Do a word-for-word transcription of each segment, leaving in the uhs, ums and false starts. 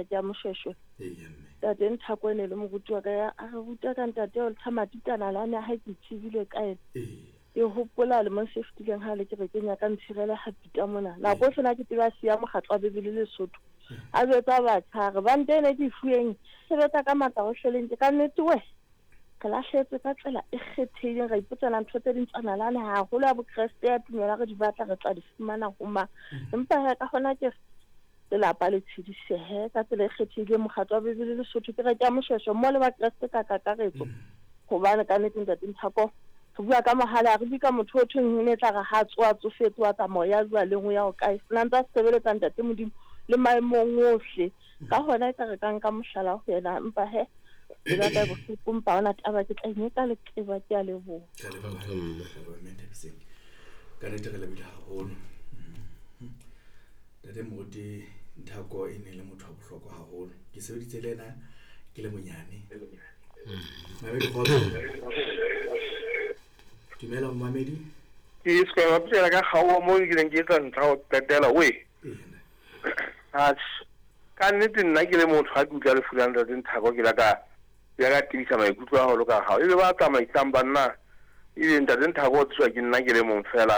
Ke ya Moshweshwe. Eya mme. Ntate Nthako e ne le moruti wa ka ya a re ruta ka ntate o Thamatitana la ne ha ke tsebile ka ena. Ee. Ke hopola lemong se fetileng ha le kerekeng ya ka ntshirela ha pita mona. Nako e na ke tseba siya mokgatlo wa Bebele Lesotho. A jwetsa batjha re bante ene ke e fuweng sebetsa ka matla ho hleleng ke ka nnete we. Re lahlehetswe ka tsela e kgethehileng, ra ipotsana ntho tse ding tsa nalane haholo ya Bokreste ya tumelo re di batla re tla di fumana ho mang. Empa he ka hona ke re lelapa le tshedisehe ka tsela e kgethehileng mokgatlo wa Bebele Lesotho kereke ya Moshweshwe mo le Bakreste ka kakaretso. Hobane ka nnete ntate Nthako re bua ka mohala, ha re bue ka motho o thweng e ne tla re ha tsoha tsofetse wa tsamaya ya jwaleng o ya ho kae. Na ntse a sebeletsa ntate Modimo le maemong ohle. Ka hona e tla re ka nka mohlala ho yena, empa he pelo ya ka e bohloko, empa ha hona taba, ke tla inyeka leqeba. Ke a leboha. Re a leboha, re leboha mme Nthabiseng. Ka nnete re lebohile haholo. Mhm. Ntate Moruti Nthako e ne le motho wa bohlokwa haholo. Ke sebeditse le ena ke le monyane. Mamedi kgotso. Dumela momamedi. Ke se ka bapela ka kgaoha moo ke neng ke etsa ntlha ho qetela we. Ee, ntate. Atjhe. Ka nnete nna ke le motho ha ke utlwa lefu la ntate Nthako ke la ka ke la ka tebisa maikutlo haholo ka hao. Ebe ba tsamaisang banna ebe ntate Nthako o tswa ke nna ke le mong fela.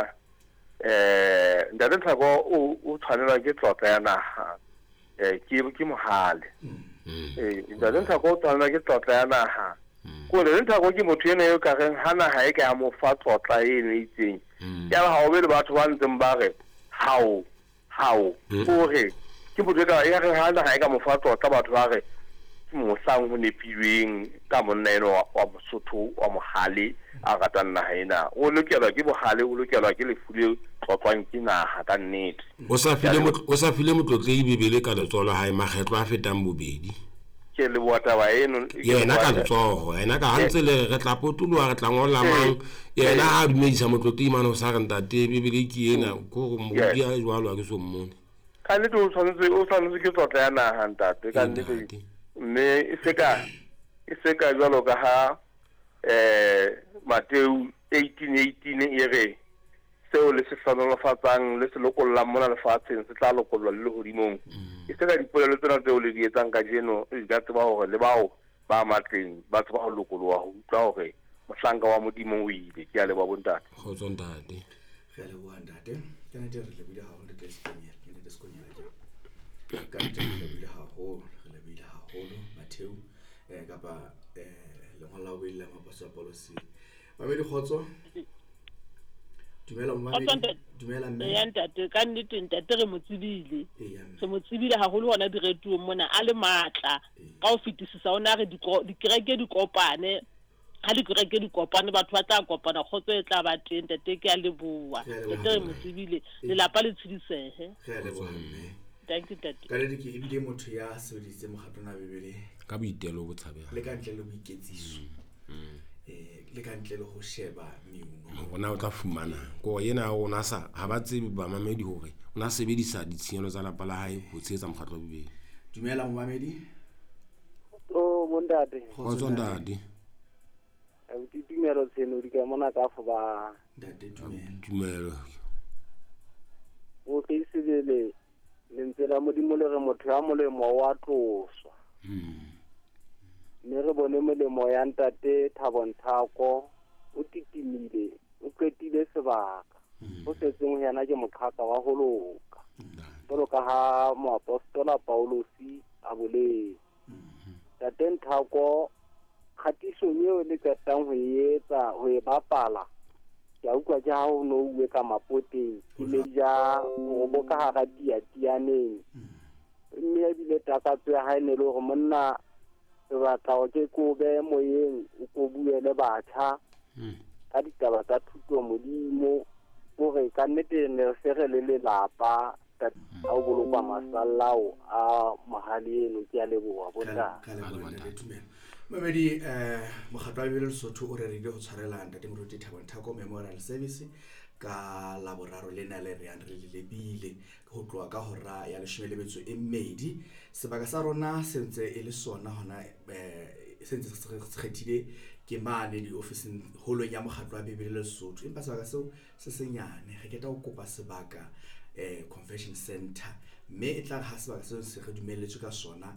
Eh ntate Nthako o o tshwanelwa ke tlotla ya naha. Eh ke ke mohale. Eh ntate Nthako o tshwanelwa ke tlotla ya naha. Ko ntate Nthako ke motho ena eo ka reng ha naha e ka ya mo fa tlotla eno e itseng. Ya ba ha o be le batho ba ntseng ba re hao hao o re ke motho e ka ya re ha naha e ka mo fa tlotla batho ba re ke mohlang ho nepilweng ka monna eno wa wa Mosotho wa mohale a ratang naha ena. O lokelwa ke bohale, o lokelwa ke lefu le tlotlwang ke naha ka nnete. O sa file motl- o sa file motlotlehi Bebele ka letsoho la hae makgetlo a fetang bobedi. Ke leboha taba eno. Ke Yena ka leboha- letsoho, yena ka ha ntse le re re tla potoloha re tla ngolla mang, yena ha a dumedisa motlotlehi mane o sa re ntate Bebele ke ena, ko re moruti a jwalo ha ke so mmone. Ka nnete o tshwanetse o tshwanetse ke tlotla ya naha ntate ka Ee, nnete. ntate. Mme e se ka e se ka jwalo ka ha eh Mateu eighteen eighteen e re seo le se hlohonolofatsang le se lokollang mona lefatsheng se tla lokollwa le lehodimong. E se ka dipolelo tsena tseo le di etsang kajeno di ka tseba hore le bao ba matleng ba tseba ho lokoloha ho utlwa hore mohlanka wa Modimo o ile. Ke a leboha bontate. Kgotso ntate. Re a leboha ntate. Ka nnete re lebohile haholo ntate Sekonyela. Ke ntate Sekonyela ke. Ka nnete re lebohile haholo, re lebohile haholo Matheu eh kapa eh lengolo la bobedi la Moapostola Paulus. Mamedi kgotso. Dumela Kgotso momamedi. ntate. Dumela mme. Eya ntate, ka nnete ntate re mo tsebile. Eya mme. Re mo tsebile haholo hona diretiong mona a le matla. Ee. Ka ho fetisisa o na re diko- dikereke di kopane. Ha dikereke di kopane batho ba tla kopana kgotso e tla ba teng ntate ke a leboha. Re a leboha. Ntate re mo tsebile. Lelapa le tshedisehe. Re a leboha mme. Thank you ntate. Ka nnete ke ebile motho ya sebedisitseng mokgatlo ona wa Bebele Ka boitelo bo tshabehang. le ka ntle le boiketsiso. Eh le ka ntle le ho sheba meuno. Hore na o tla fumana ko yena o na sa ha ba tsebe bamamedi hore o na sebedisa ditshenyehelo tsa lapa la hae ho tshehetsa mokgatlo wa Bebele. Dumela momamedi. O bontate. Kgotso ntate. Abuti Tumelo Tshenodi ka mona ka fo ba. Ntate dumela. Tumelo. O ke sebele lentswe la Modimo le re motho ya molemo wa tloswa. Mm. Mme re bone molemo ya ntate Thabo Nthako o titimile, o qetile sebaka. O setseng ho yena ke moqhaka wa ho loka. Jwalo ka ha moapostola Paulosi a boletse. Ntate Nthako kgatisong eo le qetang ho e etsa, ho e bapala, ke a utlwa ke ha ho no uwe ka mapoteng, ke ne ja ho ka hara tiatianeng. Mme ebile takatso ya hae ne le hore monna re batla hore ke ko behe moyeng, o ko bue le batjha ka ditaba tsa thuto Modimo, hore ka nnete ne re se re le lelapa ka ha o bolokwa masalla ao a mohale eno. Ke a leboha bontate. Ka leboha ntate Tumelo. Mamedi eh mokgatlo wa Bebele Lesotho o rerile ho tshwarela ntate Moruti Thabo Nthako Memorial Service ka Laboraro lena le re yang re le lebile ho tloha ka hora ya leshome le metso e mmedi. Sebaka sa rona se ntse e le sona hona eh se ntse se kgethile ke mane diofising holong ya mokgatlo wa Bebele Lesotho, empa sebaka seo se senyane. Re keta ho kopa sebaka eh convention center Mme e tla re ha sebaka seo se re dumelletswe ka sona.